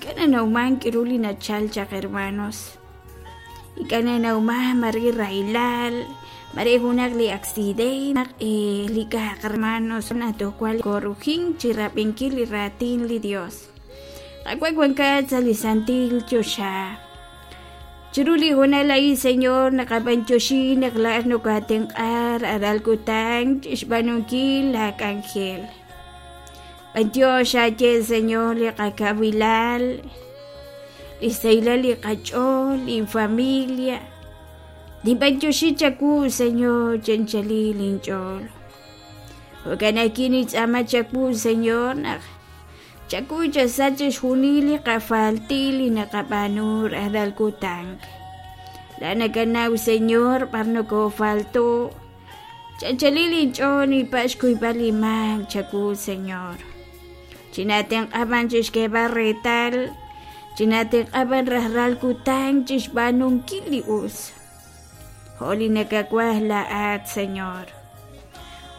Ink'a' nanawman k'aru li nachal chaq hermanos. Ink'a' nanawman mare rahilal, mare junaq li accidente, naq li k'a'aq hermanos naq toj wan korujink chi rab'inkil li raatin li Dios. Qaawa' wankat sa' li santil choxa. Chiru li hoonal a'in, Señor, naqab'antioxi naq laa'at nokoatenq'a rajlal kutan chixb'aanunkil laa k'anjel. B'antiox aaye, Señor, li qakawilal, li xsahilal li qach'ool, linfamilia. Ninb'antioxi chawu, Señor, chi anchalil inch'ool. Jo'kan ajwi' nintz'aama chawu, Señor, naq Chakuy chasach chixjunil li qafaltil li naqab'aanu rajlal kutan. La nakanaw, Señor, b'ar nokofalto. Chanchalil inch'ool ninpa' xkuyb'al li maak chawu, Señor. Chinatenq'a b'an chixk'eeb'al reetal, chinatenq'a b'an rajlal kutan chixb'aanunkil li us. Jo' li nakawaj laa'at, Señor.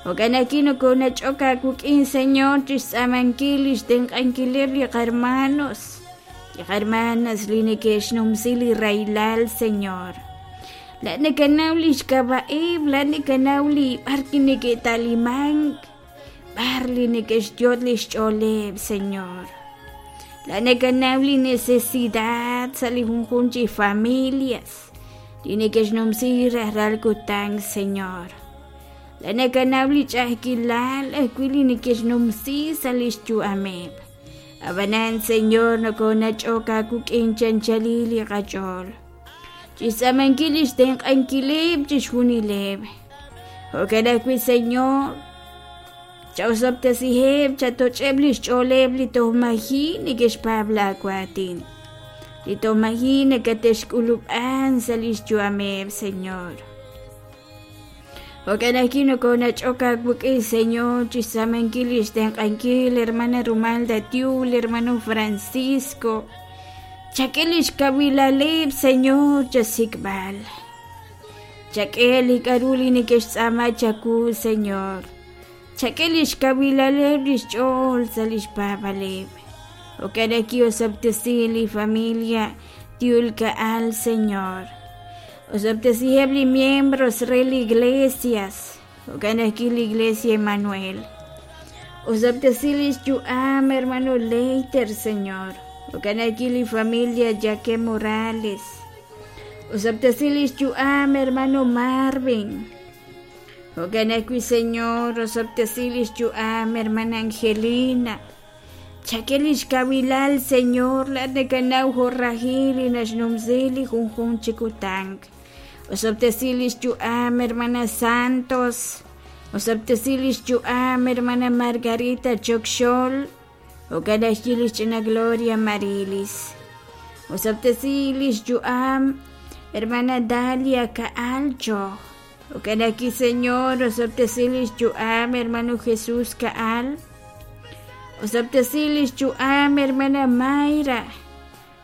Jo'kan ajwi' nokonach'ok aawik'in, Señor, chixtz'aamankil lix tenq'ankileb' li qarmanos, li qarmanas li neke'xnumsi li rahilal, Señor. Laa'at nakanaw lix k'ab'a'eb', laa'at nakanaw li b'ar neke'ta'limank, b'ar li neke'xyot' lix ch'ooleb', Señor. Laa'at nakanaw li necesidad sa' li junjunq chi familias. Li neke'xnumsi rajlal kutan, Señor. La nakanaw li ch'a'ajkilal ajwi' li neke'xnumsi sa' lix yu'ameb'. Ab'anan, Señor, nokonach'ok aawik'in chanchalil li qach'ool. Chixtz'aamankil lix tenq'ankileb' chixjunileb'. Jo'kan ajwi', Señor, Chawosob'tesiheb', chatoch'eb' li xch'ooleb' li toj maji' neke'xpaab' laawaatin, li toj maji' nakate'xk'ulub'an sa' li xyu'ameb', Señor. Jo'kan ajwi' nokonach'ok aawik'in, Señor, chi xtz'aamankil li xtenq'ankil hermana Rumalda Tiul, hermano Francisco. Chak'e li xkawilaleb', Señor, chasik'b'al. Chak'e li k'a'ru li neke'xtz'aama chawu, Señor. Chak'e lix kawilaleb' lix ch'ool sa' lix paab'aleb'. Jo'kan ki'osob'tesi li familia Tiul Ka'al, Señor. Osob'tesiheb' li miembros re li iglesias. Jo'kan ajwi' li Iglesia Emanuel. Osob'tesi lix yu'am hermano Leiter, Señor. Jo'kan ajwi' li familia Jaque Morales. Osob'tesi lix yu'am hermano Marvin. Jo'kan ajwi', Señor, osob'tesi lix yu'am hermana Angelina. Chak'e lix kawilal, Señor, laa'at nakanaw jo' rajil li naxnumsi li junjunq chi kutan. Osob'tesi lix yu'am hermana Santos. Osob'tesi lix yu'am hermana Margarita Chokxol. Jo'kan ajwi' lix ch'ina Gloria Marilis. Osob'tesi lix yu'am hermana Dalia Ka'alcho. Jo'kan ajwi', Señor, osob'tesi lix yu'am hermano Jesús Ka'al. Osob'tesi lix yu'am hermana Mayra.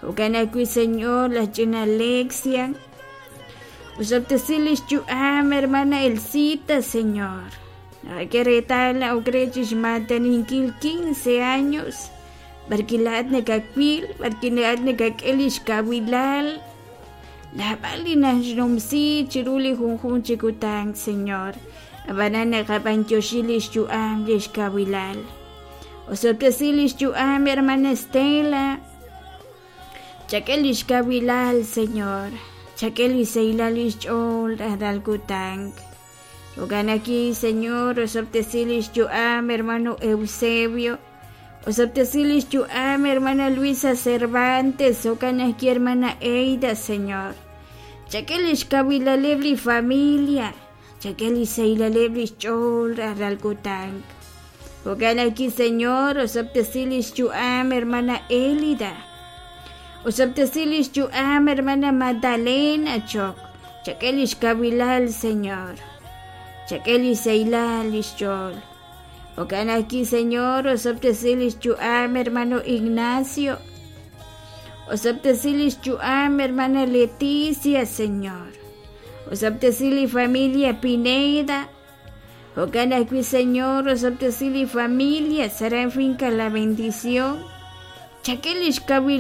Jo'kan ajwi', Señor, laj ch'ina Alexia. Osob'tesi lix yu'am hermana Elcita, Señor. Naqak'e reetal naq ok re chixmaataninkil 15 años. B'arwi' laa'at nakawil, b'arwi' laa'at nakak'e lix kawilal. Naab'al li naxnumsi chiru li junjunq chi kutan, Señor. Ab'anan naqab'antioxi lix yu'am lix kawilal. Osob'tesi lix yu'am, hermana Estela. Chak'e lix kawilal, Señor. Chak'e li sahilal lix ch'ool rajlal kutan. Jo'kan ajwi', Señor, osob'tesi lix yu'am, hermano Eusebio. Osob'tesi lix yu'am, hermana Luisa Cervantes. Jo'kan ajwi', hermana Eida, Señor. Chak'e lix kawilaleb' li familia. Chak'e lix sahilaleb' lix ch'ool rajlal kutan. Jo'kan ajwi', Señor, osob'tesi lix yu'am, hermana Elida. Osob'tesi lix yu'am, hermana Magdalena Chok. Chak'e lix kawilal, Señor. Chak'e lix sahilal lix ch'ool. Jo'kan ajwi', Señor, osob'tesi lix yu'am, hermano Ignacio. Osob'tesi lix yu'am, hermana Leticia, Señor. Osob'tesi li familia Pineda. Jo'kan ajwi', Señor, osob'tesi li familia Saran Finca La Bendición. Chak'e lix kawilal.